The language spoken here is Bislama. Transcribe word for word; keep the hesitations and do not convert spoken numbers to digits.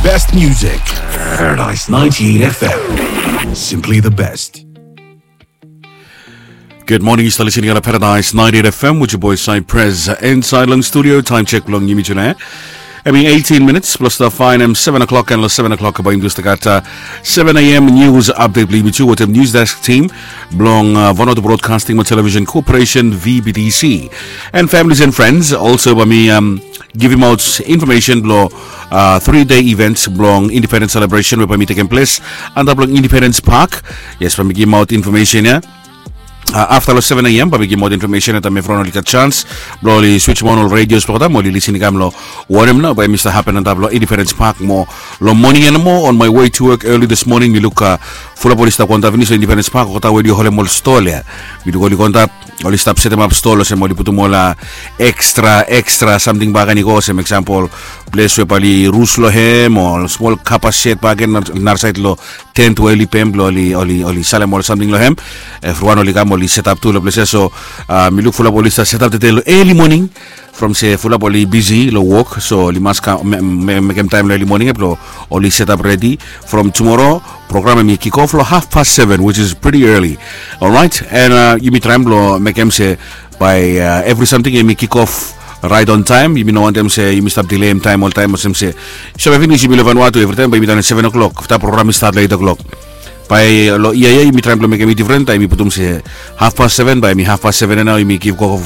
best music. Paradise ninety-eight F M. Simply the best. Good morning, yu stap listening on Paradise ninety-eight F M with your boy Cypress inside long studio. Time check long yumi tuna. Hemi eighteen minutes plus the fine em seven o'clock and long seven o'clock by English gat uh, seven a.m. news update blong yumi tu wetem news desk team blong uh, Vanuatu Broadcasting Television Corporation V B T C and families and friends also by me um, giving out information blong uh, three day events blong independence celebration wey by me taking place and blong Independence Park. Yes, by me giving out information here. Uh, afta long seven a.m. bae mi givim ol infomesen ya taem evriwan oli gat chans blong oli switch mo ol radios blong olgeta mo oli lisin i kam long wanem nao bae mi stap hapen antap long Independence Park mo long moning ya nomo on my way to work early this morning mi luk uh, fulap oli stap go antap finis long Independence Park olgeta we oli holem ol stol ya. Mi luk oli go antap oli stap setemap stol olsem oli putum ol uh, extra extra samting bakegen i go olsem example ples we bae oli rus long hem o smol kapa shet bakegen narasaed long tent we oli pem blong oli oli oli salem ol samting long hem. Evriwan oli kam oli setap tu long ples ya so uh, mi luk fulap oli stap setap tede long early morning from se fulap oli bisi long wok so oli mas kam mekem taem long early morning ya blong oli setap redi. From tumoro program hemi kikof long haf pas seven which is pretty early. Olrait and uh, yumi traem blong mekem se bae uh, evri samting hemi kikof raet on taem yumi no wantem se yumi stap dileim taem oltaem olsem se save finis yumi long Vanuatu evritaem bae yumi done seven o'clock afta program i stat long eight o'clock. Bae long yia ya yumi traem blong mekem i difren taem yumi putum se haf pas seven bae hemi haf pas seven ya nao yumi givim koko